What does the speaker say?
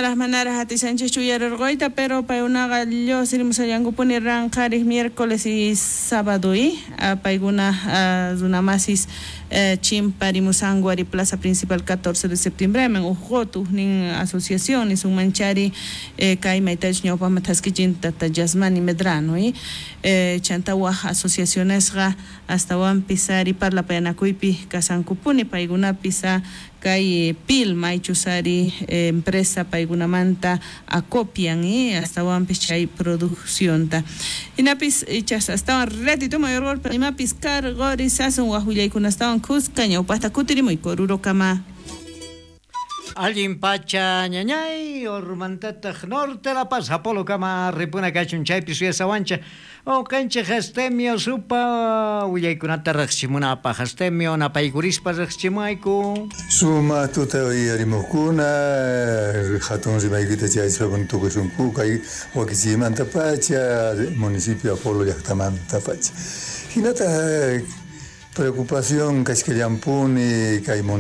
Manaraj manaraj atishanchikchu uyarirquyta, pero paykunaqa lluqsirimushallankupuni ranqharik miércoles y sábado y paykuna runamasis chimparimusanku ari plaza principal 14 de septiembre uj qutu ujnin asociación nisunmanchari kay maytachus ñawpaqman thaskichin tata Yasmani Medrano y chanta waj asociacionesqa astawanpis ari parlapayanakuypi kasankupuni paykunapis kay pil maychus ari empresa paykunamanta acopian y astawanpis chay produccionta hinapis ichas astawan ratito mayor imapis cargorizasun waj willaykunastawan khuska ñawpaqta kutirimuy Orurokama. Allin pacha ñañay, ormantataq norte La Paz, Apolo kama ripuna kachun chaypi suyasawancha uqanchik Astemio supa willaykunata riqsimunapaq. Astemio napaykurispa riqsichimuwayku. Suma tuta uyarimuqkuna hatun rimaykita chayaspa tukusunku kay wakichiymantapacha municipio Apolo llaqtamantapacha. Hinataq preocupación kashkallampuni kay.